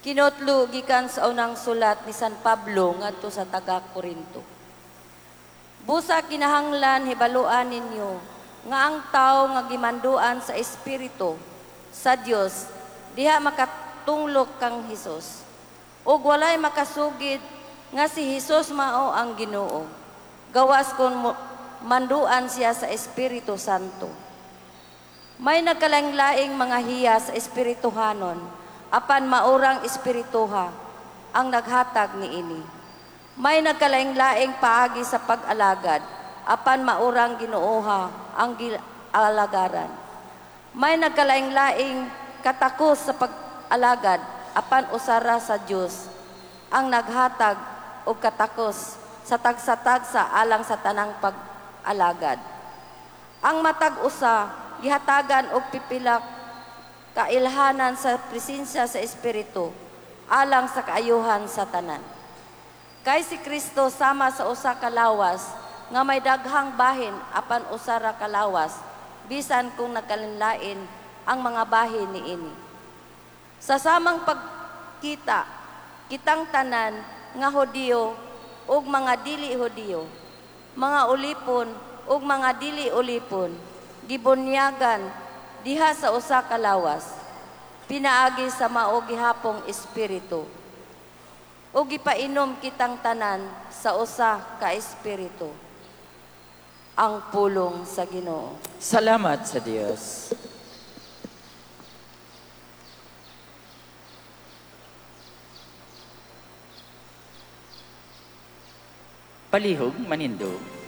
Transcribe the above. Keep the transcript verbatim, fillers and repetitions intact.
Kinotlo gikan sa unang sulat ni San Pablo ngadto sa taga Korinto. Busa kinahanglan hibaluan ninyo nga ang tawo nga gimanduan sa Espiritu sa Dios diha makatunglok kang Hesus. Ug walay makasugid nga si Hesus mao ang Ginoo. Gawas kon mo- manduan siya sa Espiritu Santo. May nagkalaing-laing mga hiya sa espirituhanon, apan maurang espirituha ang naghatag niini. May nagkalaing-laing paagi sa pag-alagad, apan maurang Ginooha ang alagaran. May nagkalaing-laing katakos sa pag-alagad, apan usara sa Dios ang naghatag og katakos sa tagsa-tagsa alang sa tanang pag-alagad. Ang matag usa gihatagan og pipila ka ilhanan sa presensya sa Espiritu alang sa kaayuhan sa tanan. Kay si Kristo sama sa usa ka lawas nga may daghang bahin apan usa ra ka lawas bisan kung nagkalainlain ang mga bahin niini. Sa samang pagkita kitang tanan nga Hudiyo ug mga dili Hudiyo, mga ulipon ug mga dili ulipon, gibunyagan diha sa usa ka lawas, pinaagi sa mao gihapong espiritu. Ug gipainom kitang tanan sa usa ka espiritu. Ang pulong sa Ginoo. Salamat sa Dios. Palihog manindog.